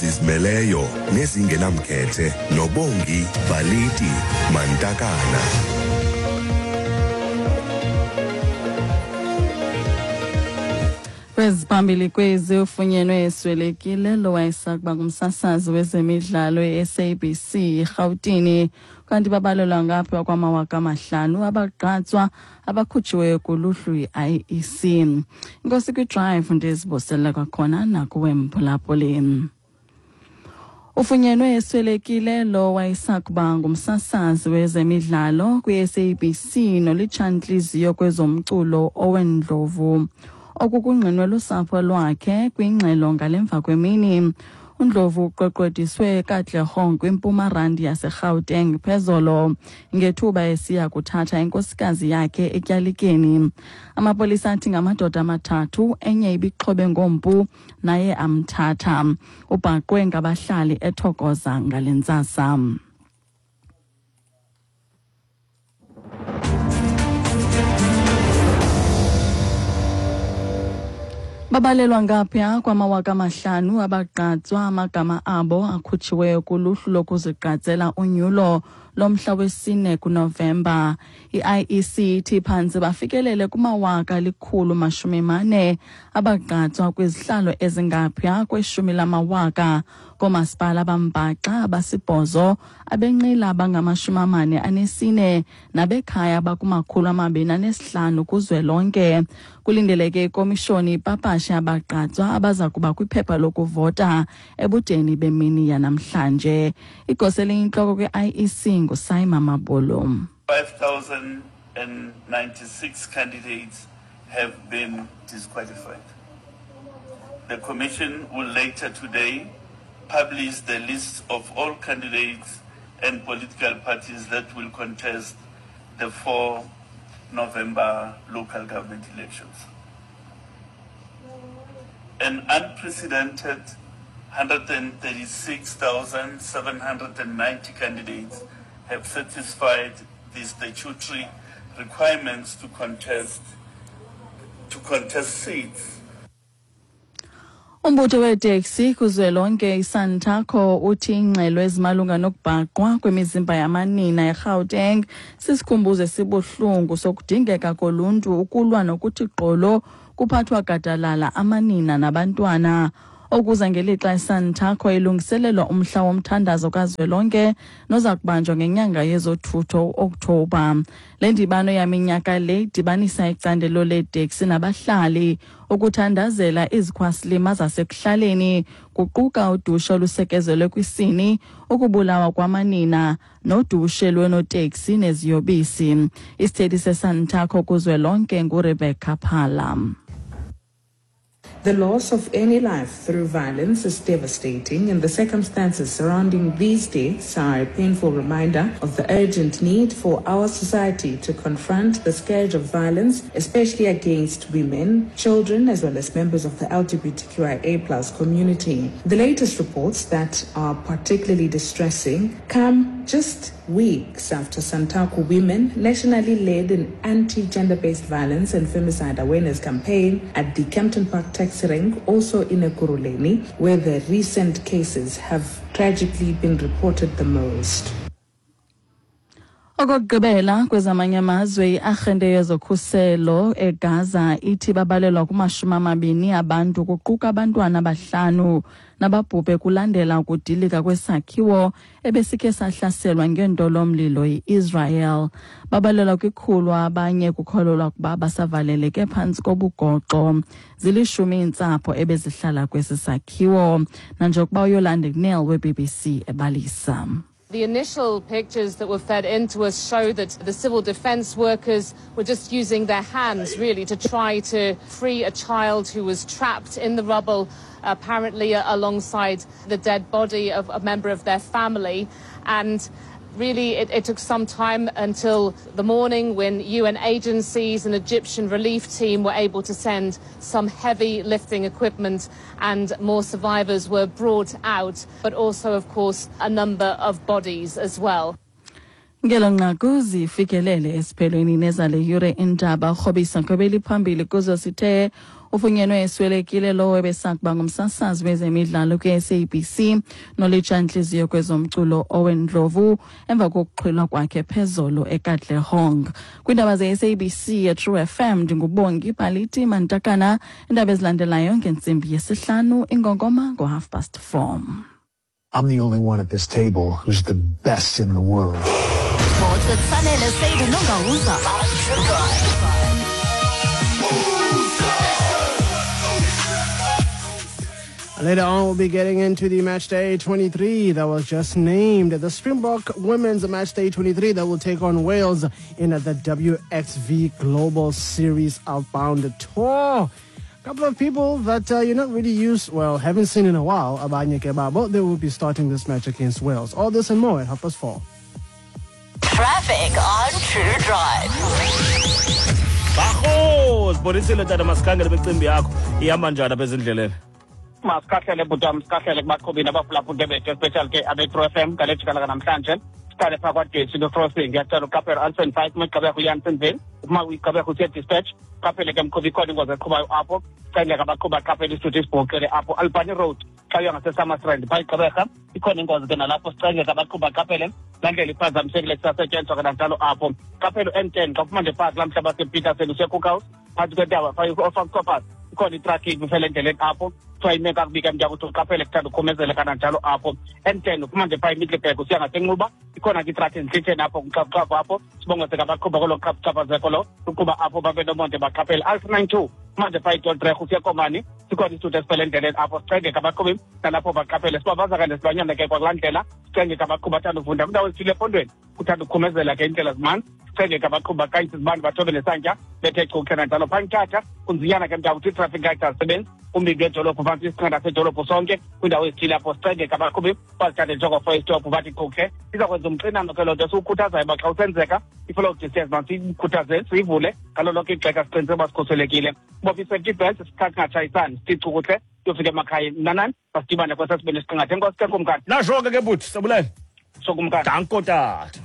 Zizimeleyo nezingenamkhethe noBongi Baliti Mantakana. Kweziphambili kwezi ufunyenwe eswelekile lo wayesakuba ngumsasazi wezemidlalo e-SABC eRhawutini, kanti babalelwa ngapha kwama-5000 abagqatswa abakhutshiweyo kuluhlu yi-IEC. Inkosi kwiDrive, ndizibusela kwakhona nakuwe mphulaphuli. Ufunyenwe eswelekile lo wayesakuba ngumsasazi wezemidlalo kwi-SABC nolitshantliziyo kwezomculo Owen Ndlovu. Oku kungqinwe lusapho lwakhe kwingxelo ngale mva kwemini. UNdlovu uqweqwediswe eKatlehong kwiMpuma Randi yaseGauteng phezolo ngethuba esiya kuthatha inkosikazi yakhe etyalikeni. Amapolisa athi ngamadoda amathathu, enye ibixhobe ngompu, naye amthatha. Ubhaqwe ngabahlali eThokoza ngale ntsasa. Babalelwa ngaphaya kwama-5000 abagqatswa amagama abo akhutshiweyo kuluhlu lokuzigqatsela unyulo lomhla wesi-4 kuNovemba. I-IEC ithi phantse bafikelele kuma-140,000 abagqatswa kwizihlalo ezingaphaya kwe-10,000 koomasipala abambaxa abasibhozo, abenqila abangama-44 nabekhaya abaku-205 kuzwelonke. Kulindeleke ikomishoni ipapashe abagqatswa abaza kuba kwiphepha lokuvota ebudeni bemini yanamhlanje. Igosa eliyintloko kwi-IEC nguSaima Mabolo. 5,096 candidates have been disqualified. The Commission will later today publish the list of all candidates and political parties that will contest the 4 November local government elections. An unprecedented 136,790 candidates have satisfied the statutory requirements to contest seats. Umbutho weeteksi kuzwelonke iSantaco uthi iingxelo ezimalunga nokubhaqwa kwemizimba yamanina eGauteng sisikhumbuzo esibuhlungu sokudingeka koluntu ukulwa nokuthi gqolo kuphathwa gadalala amanina nabantwana. Okuza ngelixa iSantaco ilungiselelwa umhla womthandazo kazwelonke noza kubanjwa ngenyanga yezothutho uOkthobha. Le ndibano yaminyaka le idibanisa icandelo leeteksi nabahlali ukuthandazela izikhwasilima zasekuhlaleni, kuquka udushe olusekezelwe kwisini, ukubulawa kwamanina nodushe lwenoteksi neziyobisi. Isithethi seSantaco kuzwelonke nguRebecca Phala. The loss of any life through violence is devastating, and the circumstances surrounding these deaths are a painful reminder of the urgent need for our society to confront the scourge of violence, especially against women, children, as well as members of the LGBTQIA+ community. The latest reports that are particularly distressing come just weeks after Santaco women nationally led an anti-gender-based violence and femicide awareness campaign at the Kempton Park taxi rank, also in Ekurhuleni, where the recent cases have tragically been reported the most. Okokugqibela kwezamanye amazwe, iarhente yezokhuselo eGaza ithi babalelwa kuma-20 abantu, kuquka abantwana abahlanu, nababhubhe kulandela ukudilika kwesakhiwo ebesikhe sahlaselwa ngentolomlilo yi-Israel. Babalelwa kwi-100 abanye kukholelwa ukuba basavaleleke phantsi kobugoxo. 10 iintsapho ebezihlala kwesi sakhiwo, nanjengokuba uYolande Neal we-BBC ebalisa. The initial pictures that were fed into us show that the civil defense workers were just using their hands, really, to try to free a child who was trapped in the rubble, apparently alongside the dead body of a member of their family. And really, it took some time until the morning when UN agencies and Egyptian relief team were able to send some heavy lifting equipment and more survivors were brought out, but also, of course, a number of bodies as well. Ngelo nqaku zifikelele esiphelweni nezale yure indaba. Rhobisa ngobeli phambili kuzo sithe Ufunyenwe eswelekile lowo ebesakuba ngumsasazi wezemidlalo kwi-SABC nolitsha-ntliziyo kwezomculo Owen Ndlovu emva kokuxhwilwa kwakhe phezolo eKatlehong. Kwiindaba ze-SABC yeTrue FM, ndinguBongi Baliti Mantakana. Iindaba ezilandelayo ngentsimbi 5:30, ingongoma ngo-4:30. I'm the only one at this table who's the best in the world. Sports with Sanele Seydu Nongauza. Later on, we'll be getting into the Match Day 23 that was just named. The Springbok Women's Match Day 23 that will take on Wales in the WXV Global Series Outbound Tour. A couple of people that you're not really used, well, haven't seen in a while, Abanye Kebabo, they will be starting this match against Wales. All this and more at 4:30. Traffic on True Drive. Baho, sibonisile tata, masikhangele imicimbi yakho ihamba njani apha ezindleleni. Masikhahlele bhuti, sikhahlele kubaqhubi nabaphulaphula bethu, especially ke abe-True FM ngale jikalaka namhlanje. Siqale phaa kwaDesi crossing, ngiyacela uqaphela Alton 5 uma igqibeka uYansonville, uma uyigqibeka usiya Dispatch, qaphele ke mqhubi, ikhona ingozi eqhubayo apho. Cele abaqhubi baqaphele isithuthi esibhoxele apho Albany Road xa uya ngaseSummerstrand phaa igqibeka ikhona ingozi ke nalapho, sicenge abaqhubi baqaphele laa ndlela iphazamisekile kusasetyenziswa kananjalo apho. Qaphela u-N10 xa uphuma nje phaa kulaa mhlaba wasePeterson usiya Cookhouse, phantsi kwentaba phaa oFarm ikhona itraffic ifele endleleni apho, kuthiwa ime kakubi ke mntakuthi uqaphele kuthanda ukhomezele kananjalo apho. N10 uphuma nje phaa eMiddelburg usiya ngaseNxuba, ikhona ke itraffic ezintlitheni apho kumxhafuxhafu apho, sibongose ke abaqhuba kolo xhaphaphazeko lo uqhuba apho babe nomonde baqaphele. R92 manje phaa iToldreg usiya Komani, sikhona isithuthi esiphele endleleni apho, sicenge ke abaqhubi nalapho baqaphele. Sibabaza ke nesilwanyana ke kwakulaa ndlela, sicenge ke abaqhubi bathanda uvunda kwindawo ezithile ephondweni, kuthanda ukukhumezela ke iindlela zimanzi, sicenge ke abaqhubi baqayise izibane bathobe nesantya bethe chukhe nanjalo. Phaa Mthatha kunzinyana ke mntakuthi i-traffic light azisebenzi umbindi wedolophu phantsi isinqanda sedolophu sonke kwindawo ezithile apho, sicenge ke abaqhubi bazithathe njengofo-stop bathi chukhe. Iza kwenza umxinano ke loo nto esiwukhuthazayo uba xa usenzeka i-follow distance masiyikhuthaze siyivule ngalo lonke ixesha, siqiniseke uba sikhuselekile. Bopha i-safety belt, sikhathi singatshayisani, sithi chukuhle siyofika emakhayeni. Mnanani masidibane kwesesibini isiqingatha. Enkosi ke kumkani. Nasho ke bhuti, sabulele. Sokumkani. Danko tata.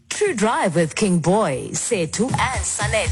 True Drive with King Boy, Sethu and Sanele.